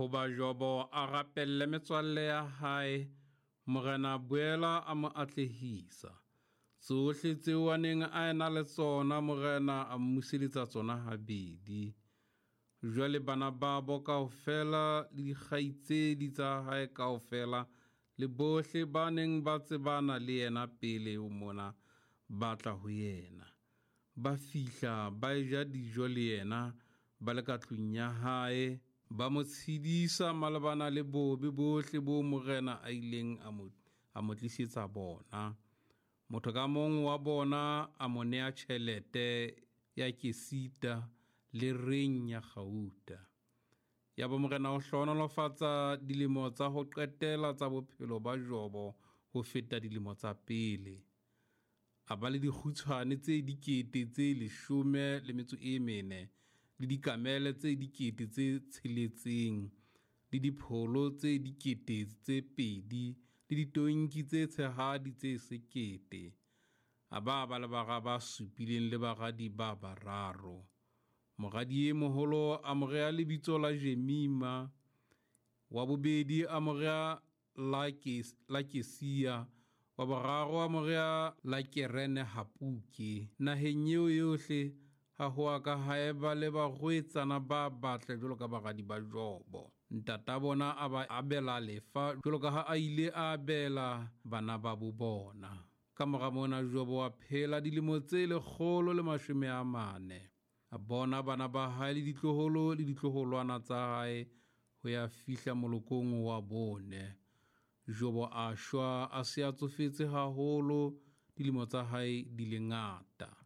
Hoba Jobo a rapelle metswalle ya hae, Morena a boela a mo atlehisa. Tsohle tseo a neng a ena le tsona Morena a mmuseletsa tsona habedi. Jwale bana babo kaofela le dikgaitsedi tsa hae kaofela le bohle ba neng ba tsebana le yena pele ho mona ba tla ho yena. Ba fihla ba eja dijo le yena ba le ka tlung ya hae, ba mo tshedisa malebana le bobe bohle boo Morena a ileng a mo tlisetsa bona. Motho ka mong wa bona a mo nea tjhelete ya kesita le reng ya kgauta. Yaba Morena o hlohonolofatsa dilemo tsa ho qetela tsa bophelo ba Jobo ho feta dilemo tsa pele. A ba le dikgutshwane tse 10 14 le dikamele tse 6,000 le dipholo tse 2,000 le ditonki tse tshehadi tse 1,000. A ba ba le bara ba 7 le baradi ba 3. Moradi e moholo a mo rea lebitso la Jemima, wa bobedi a mo rea la Kesia, wa boraro a mo rea la Kerene Hapuke. Naheng eo yohle ha ho a ka ha eba le barwetsana ba batle jwalo ka baradi ba Jobo. Ntata bona a ba abela lefa jwalo ka ha a ile a abela bana ba bo bona. Ka mora mona Jobo a phela dilemo tse 140. A bona bana ba hae le ditloholo le ditloholwana tsa hae ho ya fihla molokong wa bone. Jobo a shwa a se a tsofetse haholo, dilemo tsa hae di le ngata.